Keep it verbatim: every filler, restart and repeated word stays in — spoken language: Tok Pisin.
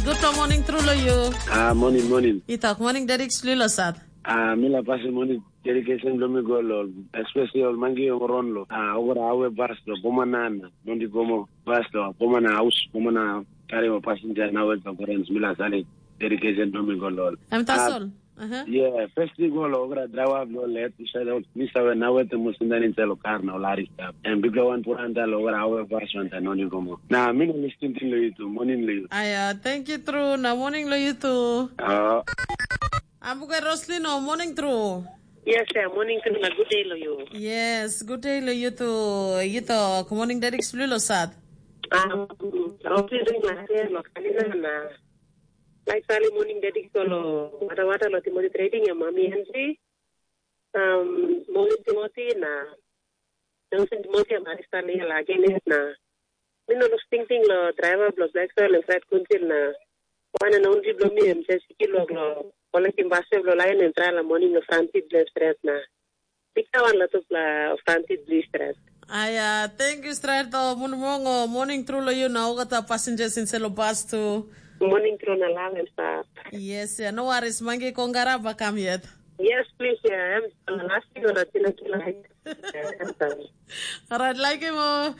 Gutpela morning tru lo yu. Ah, morning, morning. I tok morning Derek Slilo sat. Ah, mi la pasim morning dedication lo mi go lo, especially ol mangi ong ron lo. Ah, over awe bas lo, bomana na, mondi gomo bas lo, bomana haus, bomana kari o passenger na wet lo parents mi la sali dedication lo mi go lo. Em tasol. Aha. Yeah, first thing go lo, over driver lo let, mi sa mi sa na wet mo sindan in selo car na lari stap. And big one put anda lo, over awe bas one no ni gomo. Na mi no listing tin lo itu, morning lo. Aya, thank you tru. Na morning lo you too. Ah. Ambuka Roslin, oh, morning tru. Yes, yeah, morning tru na good day lo you. Yes, good day lo you too. You too. Good morning, Derek Splulo sat. Um, Roslin ring la hair lo kanina na. Like sali morning Derek solo. Wata wata lo Timothy trading ya mami Henry. Um, morning Timothy na. Johnson Timothy ya Marista Lia la again na. Mi no lus tingting lo driver bilong Black Soil and Fred Kuntil na wan and only bilong mi em Jessica lo lo kolektim basket bilong lain and trai la morning lo Francis bilong stret na. Pika wan lo tupla Francis bilong stret. Aya, thank you stret o munmong o morning tru lo you na olgeta passengers inside lo bus tu. Morning tru na love and stuff. Yes, yeah, no worries. Mange kongara bakam yet. Yes, please, yeah. I'm lasting on a tina tina. Alright, like him o.